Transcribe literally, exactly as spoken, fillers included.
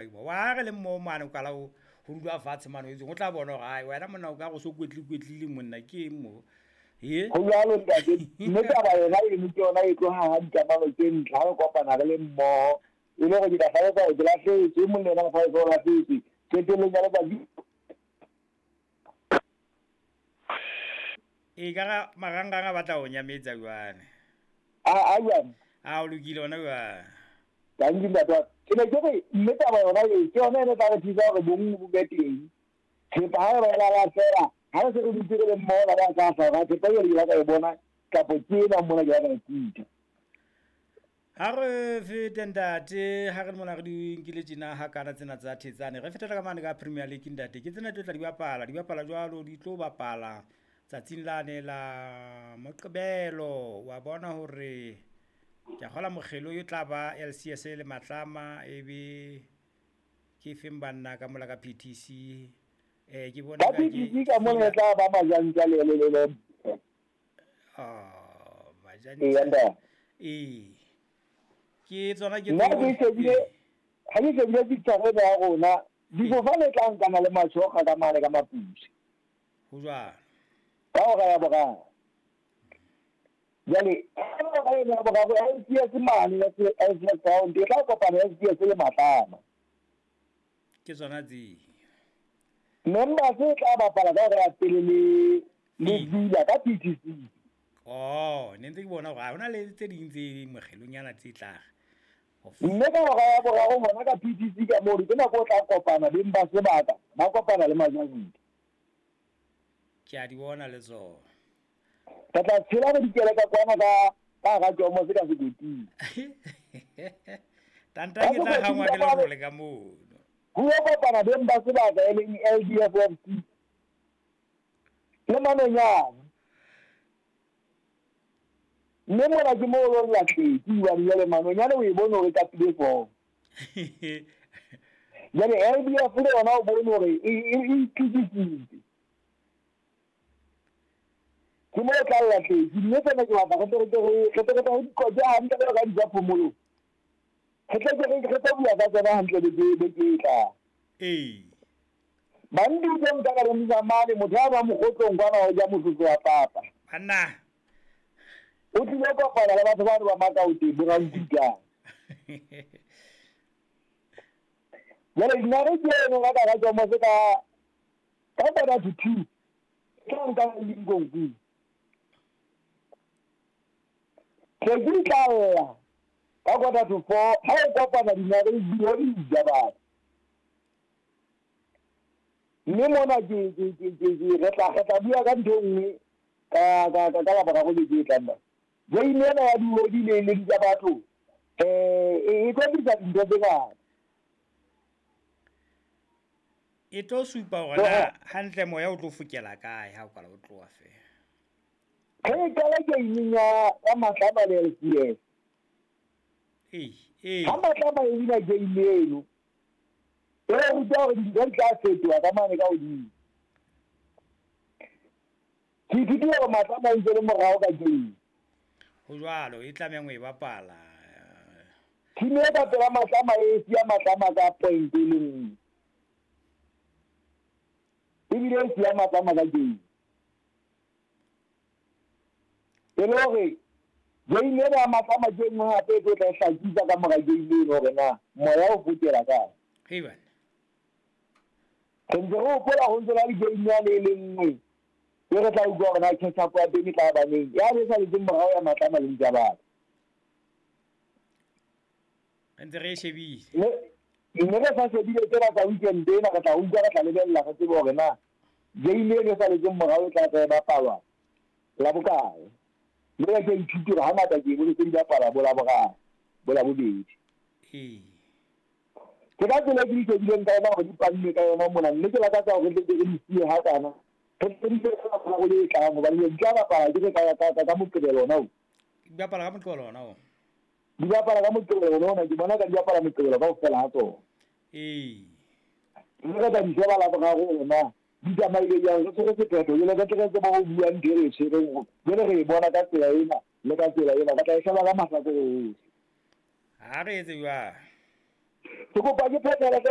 Wa re le mmo mane o kala ho ho dula fatshe mane o etseng o tla bona hore ai wena monna o ka go so kwetli kwetlile monna ke eng mo e Ho jwalo ntate, mme taba yona eno ke yona e tlo haha dikamano tse ntle ha re kopana re le mmoho. E le hore ke tla hlalosa hore ke lahlehetswe, e mong le yena a hlalosa o lahlehetswe. Qetellong ya letsatsi e ka ra marangrang a batla ho nyametsa jwale. A a jwang? A o lokile hona jwale. Tanki ntate wa ka. Ke ne ke re mme taba yona e ke yona e tla re thusa hore bonngwe bo be teng. Thepa ha e ba e la lahleha, ha re se re dutse re le mmoho la ba tla hlaha hore thepa eo ke la ka e bona kapa ke ena mona ke la ka e kuta. Ha re fete ntate, ha re le mona re di nkile tjena hakana tsena tsa Thetsane. Re fetela ka mane ka Premier League ntate. Ke tsena tlo tla di bapala, di bapala jwalo, di tlo bapala tsatsing lane la Moqebelo. Wa bona hore ke a kgola mokgelo e tla ba L C S le Matlama e be ke feng banna ka mola ka P T C. Eh ke bona Ka ka ke P T C ka mona e tla ba Majantja le le le le. Oh, Majantja. Ee, ntate. Ee. Ke tsona ke Nna tlo ke shebile, ha ke shebile picture ena ya rona, difofane tla nkana le Matjhoga ka mane ka Maputswe. Ho jwalo. Ka hora ya boraro. Jwale, ka hora ya boraro, L C S mane ya L C S Ground, e tla kopana L C S le Matlama. Ke tsona tse. Members e tla bapala ka hora ya pele le, le Villa ka P T C. Oh, ne ntse ke bona hore ha hona le tse ding tse mokgelonyana tse tla. Mme ka hora ya boraro hona ka P T C ka moo, ke nako o tla kopana beng ba sebaka, ba kopana le Majantja. Ke a di bona le tsona. Re tla tshela re dikele ka kwana ka, ka hara Jomo se ka sekoting. Tanta ke tla hangwa ke lerole ka mono. Ho yo kopana beng ba sebaka e leng L D F F C. Le Manonyane. Mme mona ke moo o lo lahlehetse, hobane jwale Manonyane o e bone hore e kapile form. Jwale L D F le yona o bone hore e, e, e itukisitse. Ke moo o tla lahlehetse. Mme tsena ke batla re tle re ke re, re tle re tle re di qoqe hantle jwalo ka di tsa phomolong. Re tle ke re, re tlo bua ka tsona hantle beke, beke e tlang. Ee. Bantu tse nka ka bontsha mane, motho a ba mokgotlong kwana ho ja mososo wa papa. Banna. O tlile kopana le batho ba ba Makaoteng, bo Rankutlane. Jwale dinare ke eno ka ka Jomo se ka, ka quarter to two. Ke tla nka Lincoln. Ke ke tla lla ka quarter to four, ha o kopana dinare di di ja batho. Mme mona ke, ke, ke, ke, ke, re tla, re tla bua ka ntho e nngwe ka, ka, ka, ka Laboraro beke e tlang mona. Game ena ya diodi le le tsa batho, eh, e, e tlo tlisa dintho tse ngata. E tlo supa hore na hantle moya o tlo fokela kae ha o kala o tloha feela. Re qala game ya, ya Matlama le L C S. Ee, ee. Ha Matlama e wina game eno, e re ruta hore dintho di tla fetoha ka mane ka hodimo. Ke ithutile hore Matlama e ntse le morao ka game. Ho jwalo, e tlamehang ho e bapala. Team e ka pela Matlama e siya Matlama ka point e le nngwe. Ebile e siya Matlama ka game. E le hore game ena ya Matlama ke e nngwe hape e tlo tla e hlakisa ka mora game eno hore na moya o fokela kae. Hei bana. Re ntse re hopola ho ntse na le game yane e le nngwe. E re tla utlwa hore na catch up ya teng e tla ba neng. Ya le saletseng morao ya Matlama le ntja batho. Re ntse re e shebile. Mme, mme re sa shebile tsena tsa weekend ena, re tla utlwa, re tla lebella, re tsebe hore na game eno e saletseng morao e tla tla e bapalwa la bokae. Mme ke ithute hore hangata ke bone tse di bapalwa bo Laboraro, bo Labobedi. Ee. Ke ka tsela e ke di shebileng ka yona hore di pannwe ka yona mona, mme ke lakatsa hore re tle re di siye hakana. Re tle re di siye ka Laboraro le e tlang, hobane di tla bapala ke ka, ka, ka, ka Moqebelo ona o. Di bapala ka Moqebelo ona o. Di bapala ka Moqebelo ona ona, ke bona ka di bapala Moqebelo kaofela ha tsona. Ee. Mme re tla di sheba Laboraro hore na di tsamaile jwang, re tshwere sephetho, jwale re tle re tsebe ho bua ntho e re e tshwereng, jwale re e bona ka tsela ena le ka tsela ena, re tla e sheba ka mahlakore ohle. Ha re etse jwang? Ke kopa ke phethele hle.